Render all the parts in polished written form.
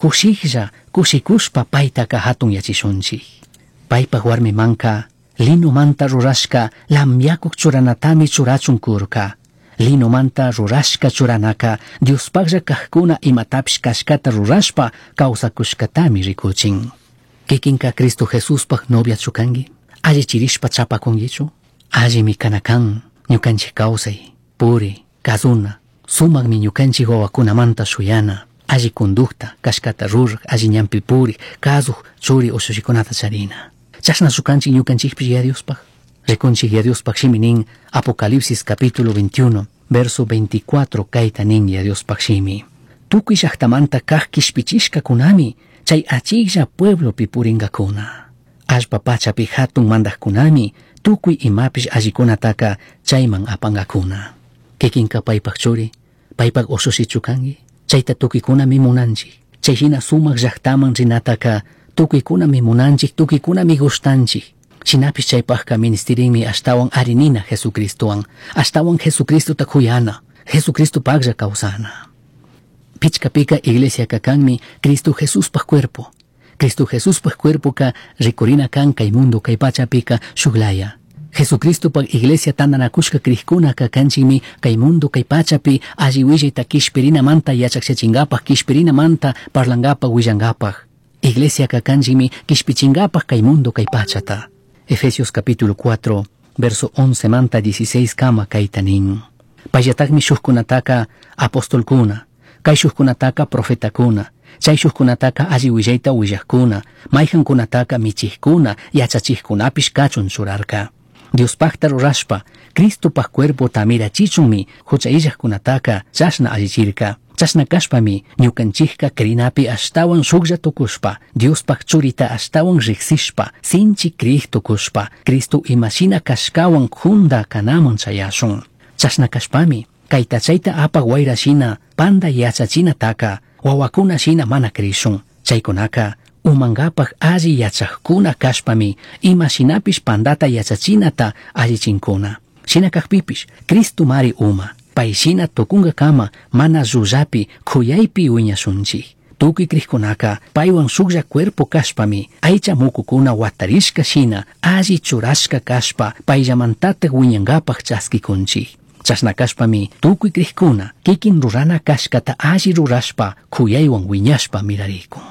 Cushijlla cushicushpa paitaca jatunyachishunchij. Paipaj huarmimanca linomanta rurashca lamyacuj churanatami churachun curca. Linomanta rurashca churanaca Diospajlla cajcuna imatapish cashcata rurashpa causacushcatami ricuchin. Kikinka Cristo Jesuspaj noviachu cangui? Allichirishpa chapacunguichu? Allimi cana can ñucanchij causai, puri, kazuna, sumajmi ñucanchij wawakunamanta shuyana, alli conducta, cashcata ruraj, alli ñanpi purij, kazuj, churi ushushikunata charina. Chashnachu canchik ñucanchikpish Yaya Diospaj? Rikunchik Yaya Diospaj shimi nin Apocalipsis capítulo 21, verso 24 kayta nin Yaya Diospaj shimi. Tukuy llaktamanta kaj kishpichishkakunami chay achiklla pueblopi puringakuna. Allpa pachapi jatun mandajkunami tukuy imapish allikunataka chayman apangakuna. Kikinka paypak churi, paypak ushushichu kanki? Chayta tukuykunami munanchik. Chay hina sumak llaktaman rinataka tukuykunami munanchik, tukuykunami gustanchik. Shinapish chaypajka ministirinmi ashtawan arinina Jesucristowan, ashtawan Jesucristota kuyana, Jesucristopajlla kawsana. Pichkapika iglesiaka kanmi Cristo Jesuspaj cuerpo. Cristo Jesuspaj cuerpoka rikurina kan kay mundo kay pachapika shuklaya. Jesucristopaj iglesia tandanakushka crijkunaka kanchikmi kay mundo kay pachapi alli willayta kishpirinamanta yachakchachingapaj, kishpirinamanta parlangapaj, willangapaj. Iglesiaka kanchikmi kishpichingapaj kay mundo kay pachata. Efesios capítulo 4, verso 11 manta 16 kama kayta nin. Payllatakmi shukkunataka apostolkuna, kay shukkunataka profetakuna, chay shukkunataka alli willayta willajkuna, mayjankunataka michijkuna, yachachijkunapish kachun churarka. Diospajta rurashpa, Cristopaj cuerpota mirachichunmi hucha illajkunataka chashna allichirka. Chashna kashpami ñukanchikka crinapi ashtawan shuklla tukushpa, Diospaj churita ashtawan riksishpa, sinchi crij tukushpa, Cristo imashina kashkawan junda kanaman chayashun. Chashna kashpami, kayta chayta apak wayra shina, panda yachachinataka, wawakuna shina mana krishun. Chaykunaka umankapaj alli yachajkuna kashpami, imashinapish pandata yachachinata allichinkuna. Shina kajpipish, Cristo mari uma, pay shina tukunkakama mana llullapi kuyaypi wiñashunchik. Tukuy crijkunaka paywan shuklla cuerpo kashpami, aycha mukukuna watarishka shina, alli churashka kashpa, payllamantataj wiñankapaj chaskikunchik. Chashna kashpami tukuy crijkuna kikin rurana kashkata alli rurashpa kuyaywan wiñashpa mirarikun.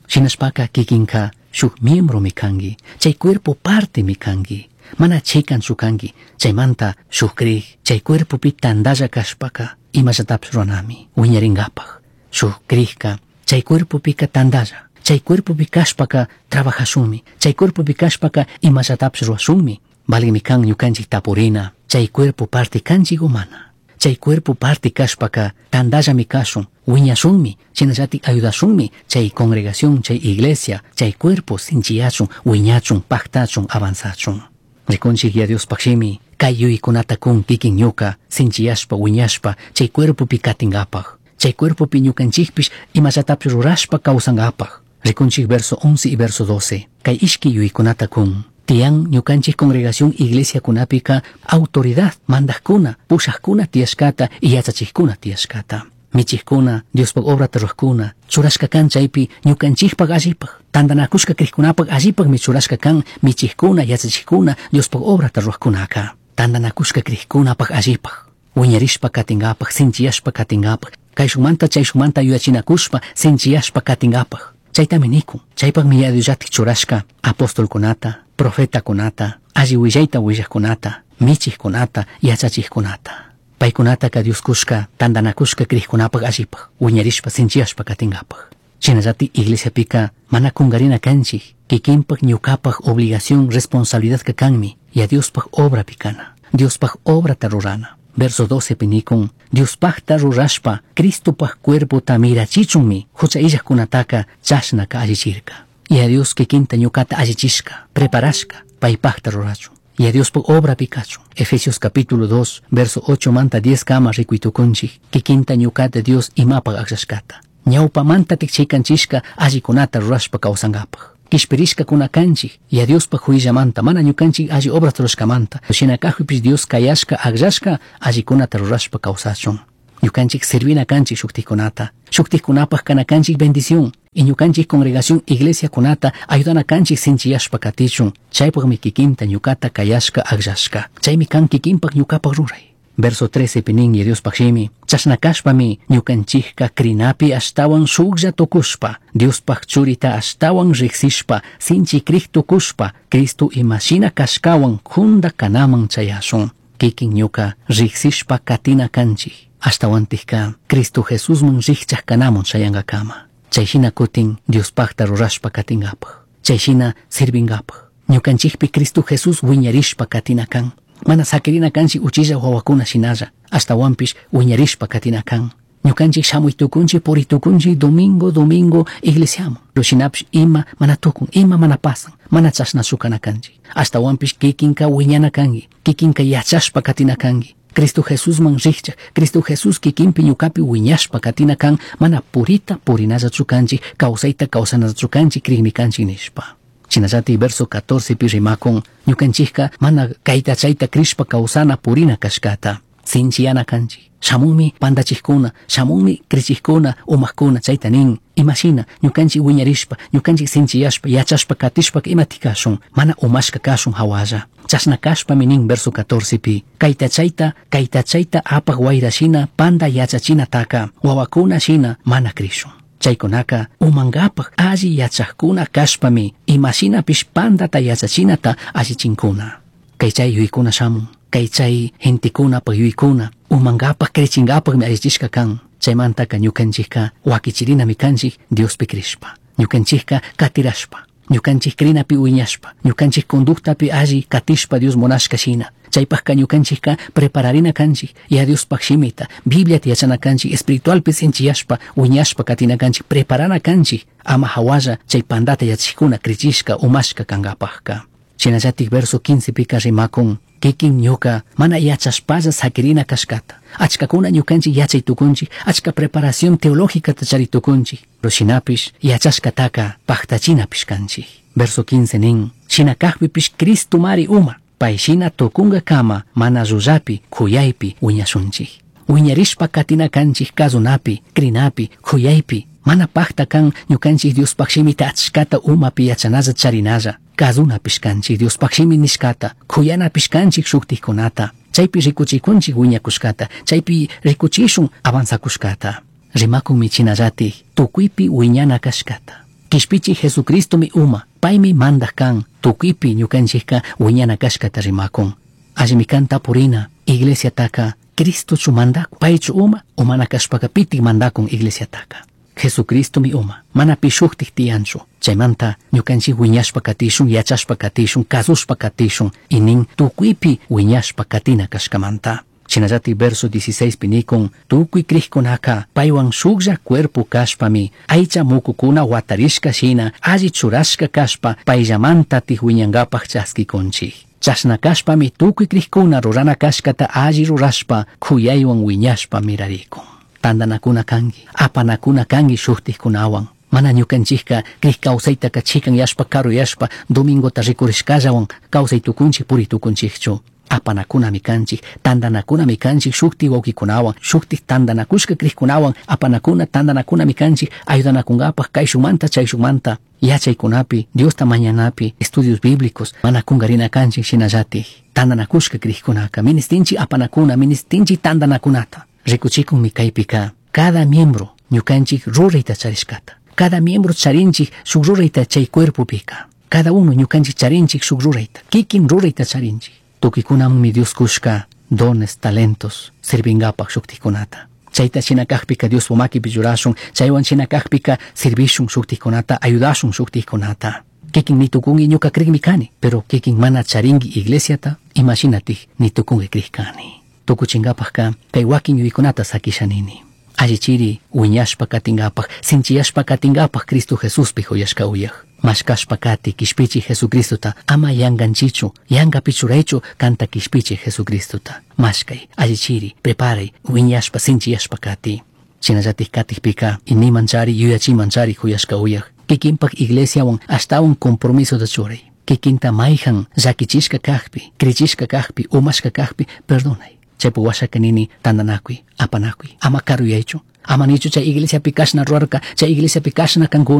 Shinashpaka kikinka shuk miembromi kanki, chay cuerpo partemi kanki, mana chikanchu kanki, chaymanta shuk crij, chay cuerpopi tandalla kashpaka imallatapish ruranami wiñarinkapaj. Shuk crijka chay cuerpopika tandalla, chay cuerpopi kashpaka trabajashunmi, chay cuerpopi kashpaka imallatapish rurashunmi. Valimi kan ñukanchik tapurina, chay cuerpo parte kanchik o mana. Chay cuerpo parte kashpaka tandallami kashun, wiñashunmi, shinallatik ayudashunmi chay congregación, chay iglesia, chay cuerpo sinchiyachun, wiñachun, paktachun, avanzachun. Rikunchik ya Diospaj shimi, kay yuyaykunata kun kikin ñuka, sinchiyashpa, wiñashpa, chay cuerpopi katinkapaj. Chay cuerpopi ñukanchikpish imallatapish rurashpa kawsankapaj. Rikunchik verso 11 y verso 12, kay ishki yuyaykunata kun. Tiyan ñukanchik congregación iglesia kunapika autoridad mandajkuna, pushajkuna tiyashkata y yachachijkuna tiyashkata. Michijkuna, Diospaj obrata rurajkuna, churashka kan chaypi ñukanchikpaj allipaj, tandanakushka crijkunapaj allipajmi churashka kan michijkuna, yachachijkuna, Diospaj obrata rurajkunaka. Tandanakushka crijkunapaj allipaj, wiñarishpa katinkapaj, sinchiyashpa katinkapaj, kayshunmanta chayshunmanta yuyachinakushpa sinchiyashpa katinkapaj. Chaytami nikun, chaypajmi Yaya Diosllatik churashka apostolkunata, profetakunata, alli willayta willajkunata, michijkunata, yachachijkunata. Paykunataka Dios kushka tandanakushka crijkunapaj allipaj, wiñarishpa sinchiyashpa katinkapaj. Shinallatik iglesiapika mana kunkarina kanchik, kikinpaj ñukapaj obligación responsabilidadka kanmi, ya Diospaj obrapi kana, Diospaj obrata rurana. Verso 12 pi nikun, Diospajta rurashpa, Cristopaj cuerpota mirachichunmi, hucha illajkunataka chashnaka allichirka. Ya Dios kikinta ñukata allichishka, preparashka, paypajta rurachun. Ya Diospaj obrapi kachun. Efesios capítulo 2, verso 8 manta 10 kama rikuytukunchik, kikinta ñukata Dios imapaj akllashkata. Ñawpamantatik chikanchishka allikunata rurashpa kawsankapaj. Kishpirishkakuna kanchik, ya Diospaj huillamanta, mana ñukanchik alli obrata rurashkamanta. Shina kajpipish Dios kayashka akllashka allikunata rurashpa kawsachun. Ñukanchik servina kanchik shuktikunata. Shuktikunapaj kana kanchik bendición. Y ñukanchik congregación iglesiakunata ayudana kanchik sinchiyashpa katichun. Chaypaqmi kikinta ñukata kayashka akllashka. Chaymi kan kikinpaq ñukapaq ruray. Verso 13 pinin Diospaq shimi. Chashna kashpami ñukanchikka krinapi ashtawan shuklla tukushpa, Diospaq churita ashtawan riqsishpa, sinchi krij tukushpa, Cristo imashina kashkawan junda kanaman chayashun. Kikin ñuka riqsishpa katina kanchik. Ashtawantikka Cristo Jesusman riqchaq kanamun chayankakama. Chayshina kutin Diospaqta rurashpa katingapaq. Chayshina sirvingapaq. Ñukanchikpi Cristo Jesús wiñarishpa katina kan. Mana sakirina kanchik uchilla wawakuna shinalla. Ashtawanpish wiñarishpa katina kan. Ñukanchik shamuy tukunchik puri tukunchik domingo domingo iglesiaman. Pero shinapish ima mana tukun, ima mana pasan, mana chashnachu kana kanchik. Ashtawanpish kikinka wiñana kanki, kikinka yachashpa katina kanki. Cristo Jesusman riqchaq, Cristo Jesús kikinpi ñukapi wiñashpa katina kan, mana purita purinallachu kanchik, kawsayta kawsanallachu kanchik, krikmi kanchik nishpa. Shinallati verso 14 pi rimakun, ñukanchikka mana kayta chayta krishpa kawsana purina kashkata. Sinchiyana kanchik. Shamunmi pandachikkuna, shamunmi krichikkuna, umajkuna chayta nin. Imashina ñukanchik wiñarishpa, ñukanchik sinchiyashpa, yachashpa katishpa imatik kashun, mana umashka kashun hawalla. Chashna kashpami nin verso 14 pi. Kayta chayta, kayta chayta apaq wayra shina panda yachachinataka, wawakuna shina mana krishun. Chaykunaka umankapaq alli yachaqkuna kashpami imashinapish pandata yachachinata allichinkuna. Kay chay yuyaykuna shamun, kay chay gentekunapaq yuyaykuna, umankapaq krichinkapaqmi allichishka kan. Chaymantaka ñukanchikka wakichirinami kanchik Diospi krishpa. Ñukanchikka katirashpa, ñukanchik krinapi wiñashpa, ñukanchik conductapi alli katishpa Dios munashka shina. Chaypaqka ñukanchikka prepararina kanchik, ya Diospaq shimita, Bibliata yachana kanchik, espiritualpi sinchiyashpa, wiñashpa katina kanchik, preparana kanchik, ama hawalla chay pandata yachikuna krichishka umashka kankapaqka. Shinallatik verso 15 pika rimakun, kikin ñuka mana yachashpalla sakirina kashkata. Achkakuna ñukanchik yachay tukunchik, achka preparación teológica chari tukunchik. Pero shinapish yachashkataka paktachinapish kanchik. Verso 15 nin, shina kajpipish Cristo mari uma, pay shina tukunkakama mana llullapi, kuyaypi wiñashunchik. Wiñarishpa katina kanchik kasunapi, krinapi, kuyaypi, mana pakta kan ñukanchik Diospaq shimita achkata umapi yachanalla charinalla. Kasunapish kanchik Diospaq shimi nishkata, kuyanapish kanchik shuktikkunata. Chaypi rikuchikunchik wiñakushkata, chaypi rikuchishun avanzakushkata. Rimakunmi chinallatik tukuypi wiñana kashkata. Kishpichi Jesucristomi uma, paymi mandaq kan, tukuypi ñukanchikka wiñana kashkata rimakun. Allimi kan tapurina, iglesiataka Cristochu mandakun, paychu uma, umana kashpaka pitik mandakun iglesiataka. Jesucristomi uma, mana pi shuktik tiyanchu. Chaymanta ñukanchik wiñashpa katishun, yachashpa katishun, kasushpa katishun, y nin tukuypi wiñashpa katina kashkamanta. Shinallatik verso 16 pi nikun, tukuy krikkunaka paywan shuklla cuerpo kashpami, aycha mukukuna watarishka shina, alli churashka kashpa, payllamantatik wiñankapaq chaskikunchik. Chashna kashpami tukuy krikkuna rurana kashkata alli rurashpa, kuyaywan wiñashpa mirarikun. Tandanakuna kanki, apanakuna kanki shuktikkunawan. Mana ñukanchikka krik kawsaytaka chikanyashpa karuyashpa domingota rikurishkallawan kawsay tukunchik puri tukunchikchu. Apanakunami kanchik, tandanakunami kanchik shuktik wawkikunawan, shuktik tandanakushka krikkunawan, apanakuna tandanakunami kanchik, ayudanakunkapaq kayshukmanta chayshukmanta, yachaykunapi, Diosta mañanapi, estudios bíblicos, mana kunkarina kanchik shinallatik. Tandanakushka krikkunaka, ministinchik apanakuna, ministinchik tandanakunata. Rikuchikunmi kaypika, cada miembro ñukanchik rurayta charishkata. Cada miembro charinchik shuk rurayta chay cuerpopika. Cada uno ñukanchik charinchik shuk rurayta, kikin rurayta charinchik. Tukuykunamanmi Dios kushka dones, talentos, sirvinkapaq shuktikkunata. Chayta shina kajpika Dios makipi churashun, chaywan shina kajpika servishun shuktikkunata, ayudashun shuktikkunata. Kikin nitukunki ñuka krikmi kani, pero kikin mana charinki iglesiata, imashinatik nitukunki krik kani. Tukuchinkapaqka kay wakin yuyaykunata sakisha nini. Allichiri wiñashpa katinkapaq, sinchiyashpa katinkapaq Cristo Jesuspi huyashka uyaj. Mashkashpa kati kishpichi Jesucristota, ama yanganchichu, yangapi churaychu kanta kishpichi Jesucristota. Mashkay, allichiri, preparay, wiñashpa sinchiyashpa kati. Shinallatik katikpika, inimanchari, yuyachimanchari huyashka uyaj. Kikinpak iglesiawan ashtawan compromisota churay. Kikinta mayhan llakichishka kajpi, krichishka kajpi, umashka kajpi, perdonay. Chaypi washaka nini tandanakuy, apanakuy, ama karuyaychu. Ama nichu chay iglesiapi kashna rurarka, chay iglesiapi kashna kankuna.